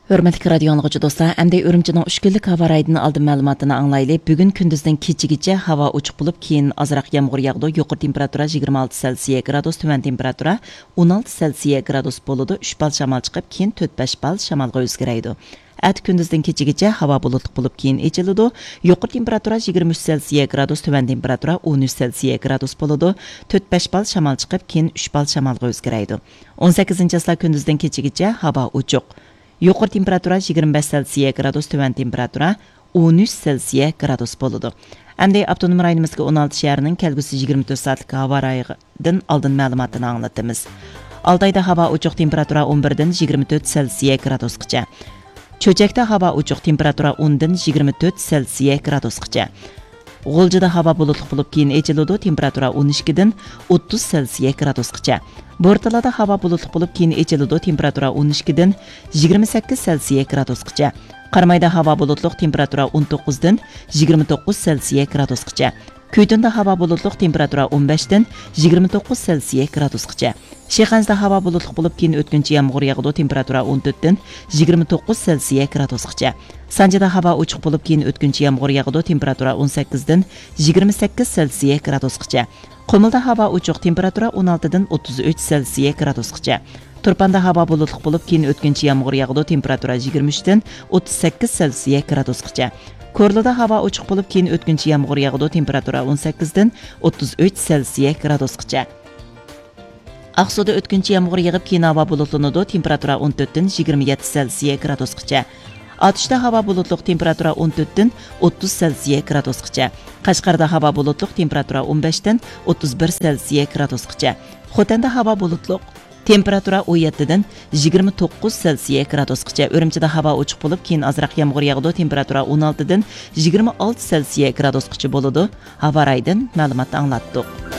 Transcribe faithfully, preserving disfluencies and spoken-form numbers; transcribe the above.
ھۆرمەتلىك رادىيو ئاڭلىغۇچى دوستلار، ئەمدى ئۈرۈمچىنىڭ ئۈچ كۈنلۈك ھاۋا رايىدىن ئالدىن مەلۇماتىنى ئاڭلايلى. بۈگۈن كۈندۈزدىن كېچىگىچە ھاۋا ئوچۇق بولۇپ، كېيىن ئازراق يامغۇر ياغىدۇ. يۇقىرى تېمپېراتۇرا يىگىرمە ئالتە سېلسىيە گرادۇس، تۆۋەن تېمپېراتۇرا ئون ئالتە سېلسىيە گرادۇس بولىدۇ. ئۈچ بال شامال چىقىپ، كېيىن تۆت بەش بال شامالغا ئۆزگىرەيدۇ. ئەتە كۈندۈزدىن كېچىگىچە ھاۋا بۇلۇتلۇق بولۇپ، كېيىن ئېچىلىدۇ. يۇقىرى تېمپېراتۇرا يىگىرمە ئۈچ سېلسىيە گرادۇس، تۆۋەن تېمپېراتۇرا ئون ئۈچ سېلسىيە گرادۇس بولىدۇ. تۆت بەش بال شامال چىقىپ، كېيىن ئۈچ بال شامالغا ئۆزگىرەيدۇ. ئون سەككىزىنچى چىسلا كۈندۈزدىن كېچىگىچە ھاۋا ئوچۇق. يۇقىرى تېمپېراتۇرا يىگىرمە بەش سېلسىيە گرادۇس، تۆۋەن تېمپېراتۇرا ئون ئۈچ سېلسىيە گرادۇس بولىدۇ. ئەمدى ئاپتونوم رايونىمىزدىكى ئون ئالتە شەھەرنىڭ كەلگۈسى يىگىرمە تۆت سائەتلىك ھاۋا رايىدىن ئالدىن مەلۇماتىنى ئاڭلىتىمىز. ئالتايدا ھاۋا ئوچۇق، تېمپېراتۇرا ئون بىردىن يىگىرمە تۆت سېلسىيە گرادۇسقىچە. چۆچەكتە ھاۋا ئوچۇق، تېمپېراتۇرا ئوندىن يىگىرمە تۆت سېلسىيە گرادۇسقىچە. غۇلجىدا ھاۋا بۇلۇتلۇق بولۇپ، كېيىن ئېچىلىدۇ، تېمپېراتۇرا ئون ئىككىدىن ئوتتۇز سېلسىيە گرادۇسقىچە. بورتالادا ھاۋا بۇلۇتلۇق بولۇپ، كېيىن ئېچىلىدۇ، تېمپېراتۇرا ئون ئىككىدىن يىگىرمە سەككىز سېلسىيە گرادۇسقىچە. قارامايدا ھاۋا بۇلۇتلۇق، تېمپېراتۇرا ئون توققۇزدىن يىگىرمە توققۇز سېلسىيە گرادۇسقىچە. كۈيتۇندا ھاۋا بۇلۇتلۇق، تېمپېراتۇرا ئون بەشتىن يىگىرمە توققۇز سېلسىيە گرادۇسقىچە. شىخەنزىدە ھاۋا بۇلۇتلۇق بولۇپ، كېيىن ئۆتكۈنچى يامغۇر ياغىدۇ، تېمپېراتۇرا ئون تۆتتىن يىگىرمە توققۇز سېلسىيە گرادۇسقىچە. سانجىدا ھاۋا ئوچۇق بولۇپ، كېيىن ئۆتكۈنچى يامغۇر ياغىدۇ، تېمپېراتۇرا ئون سەككىزدىن يىگىرمە سەككىز سېلسىيە گرادۇسقىچە. قۇمۇلدا ھاۋا ئوچۇق، تېمپېراتۇرا ئون ئالتىدىن ئوتتۇز ئۈچ سېلسىيە گرادۇسقىچە. تۇرپاندا ھاۋا بۇلۇتلۇق بولۇپ، كېيىن ئۆتكۈنچى يامغۇر ياغىدۇ، تېمپېراتۇرا يىگىرمە ئۈچتىن ئوتتۇز سەككىز سېلسىيە گرادۇسقىچە. كورلىدا ھاۋا ئوچۇق بولۇپ، كېيىن ئۆتكۈنچى يامغۇر ياغىدۇ، تېمپېراتۇرا ئون سەككىزدىن ئوتتۇز ئۈچ سېلسىيە گرادۇسقىچە. ئاقسۇدا ئۆتكۈنچى يامغۇر يېغىپ، كېيىن ھاۋا بۇلۇتلىنىدۇ، تېمپېراتۇرا ئون تۆتتىن يىگىرمە يەتتە سېلسىيە گرادۇسقىچە. ئاتۇشتا ھاۋا بۇلۇتلۇق، تېمپېراتۇرا ئون تۆتتىن ئوتتۇز سېلسىيە گرادۇسقىچە. قەشقەردە ھاۋا بۇلۇتلۇق، تېمپېراتۇرا ئون بەشتىن ئوتتۇز بىر سېلسىيە گرادۇسقىچە. خوتەندە ھاۋا بۇلۇتلۇق، تېمپېراتۇرا ئون يەتتىدىن يىگىرمە توققۇز سېلسىيە گرادۇسقىچە. ئۈرۈمچىدە ھاۋا ئوچۇق بولۇپ، كېيىن ئازراق يامغۇر ياغىدۇ، تېمپېراتۇرا ئون ئالتىدىن يىگىرمە ئالتە سېلسىيە گرادۇسقىچە بولىدۇ. ھاۋا رايىدىن مەلۇماتنى ئاڭلاتتۇق.